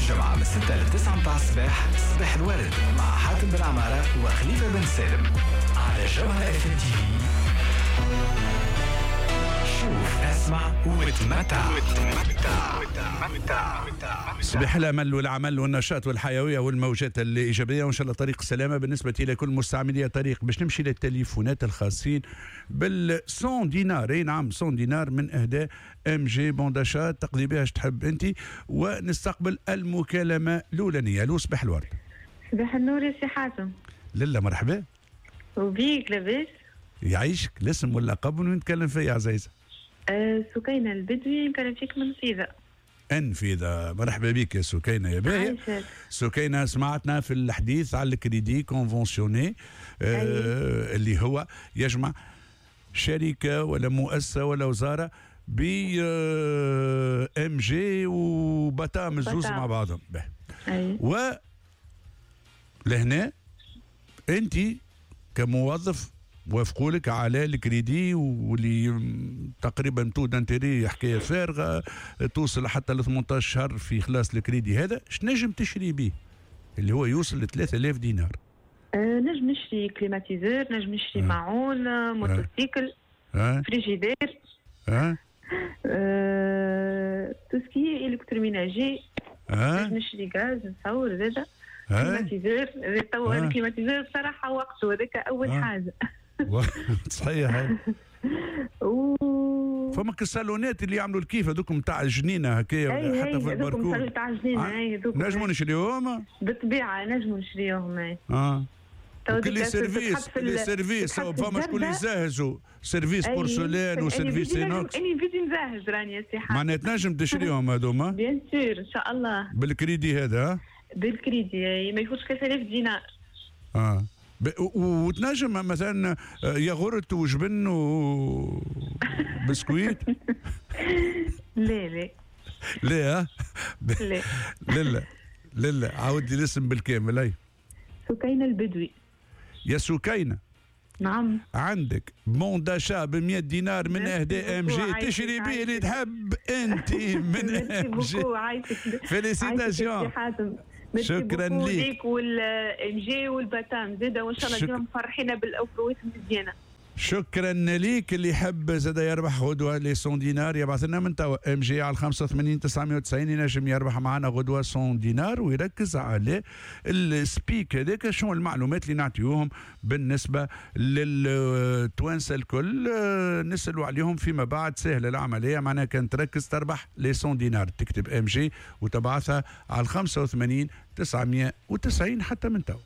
جمعة من 6 ل 9 متاع الصباح، صباح الورد مع حاتم بن عمارة وخليفة بن سالم على جوهرة اف ام تي في. شوف، اسمع وتمتع. صباح الامل والعمل والنشاط والحيوية والموجات الايجابيه، وان شاء الله طريق السلامة بالنسبة الى كل مستعملي طريق. باش نمشي للتليفونات الخاصين بال 100 دينار، اي نعم 100 دينار من اهداء MG bon d'achat، تقضي بها اش تحب انت. ونستقبل المكالمة الاولانيه. الو، صباح الورد. صباح النور يا سي حاتم. للا مرحبا. وبيك، لاباس؟ يعيشك. الاسم واللقب وين نتكلم فيه يا عزيزه؟ سكينة البدوي، نكلم فيك من نفيذة. انفيذة، مرحبا بك يا سكينة يا باهية. سكينة، سمعتنا في الحديث على ال crédit conventionné اللي هو يجمع شركة ولا مؤسسة ولا وزارة ب MG وباتام الزوز مع بعضهم. و لهنا انت كموظف وافقوا لك على الكريدي، واللي تقريبا taux d'intérêt حكاية فارغه، توصل حتى ل 18 شهر في خلاص الكريدي هذا. اش نجم تشري به اللي هو يوصل ل 3000 دينار؟ نجم نشري climatiseur، نجم نشري معون، motocycle، فريجيدير، tout ce qui est électroménager، نجم نشري غاز نصور زاده، climatiseur تو. ال climatiseur بصراحة وقته هذاك اول حاجه. صحيح. فما الصالونات اللي يعملوا الكيف هذوك نتاع الجنينة هكايا، حتى في البركون. نتاع الجنينه. نجموا نشريوهم؟ بالطبيعة نجموا نشريوهم. كل service، les services، فما شكون يزهزوا service porcelaine و service inox. اني بيدي نزهز راني يا سي. معناها تنجم تشريهم هذوما؟ bien sûr، ان شاء الله. بالكريدي هذا؟ بالكريدي ما يفوتش 3000 دينار. وتنجم مثلا ياغورت وجبن وبسكويت؟ لا لا. لا. لا. لا لا لا لا. عاود لي الاسم بالكامل اي. سكينة البدوي. يا سكينة. نعم. عندك bon d'achat ب 100 دينار من اهداء MG، تشري به اللي تحب انت من MG. félicitations، شكرا ليك. وال MG والباتام زاده، وان شاء الله ديما مفرحينا بال offre وات المزيانه. شكرا ليك. اللي يحب زاد يربح غدوه les 100 دينار يبعث لنا من توا MG على 85 990، ينجم يربح معنا غدوه 100 دينار ويركز على ال speak هذاك. شنو المعلومات اللي نعطيوهم بالنسبة للتوانسه الكل؟ نسالوا عليهم فيما بعد. سهلة العمليه، معناها كان تركز تربح les 100 دينار. تكتب MG وتبعثها على 85 990 حتى من توا.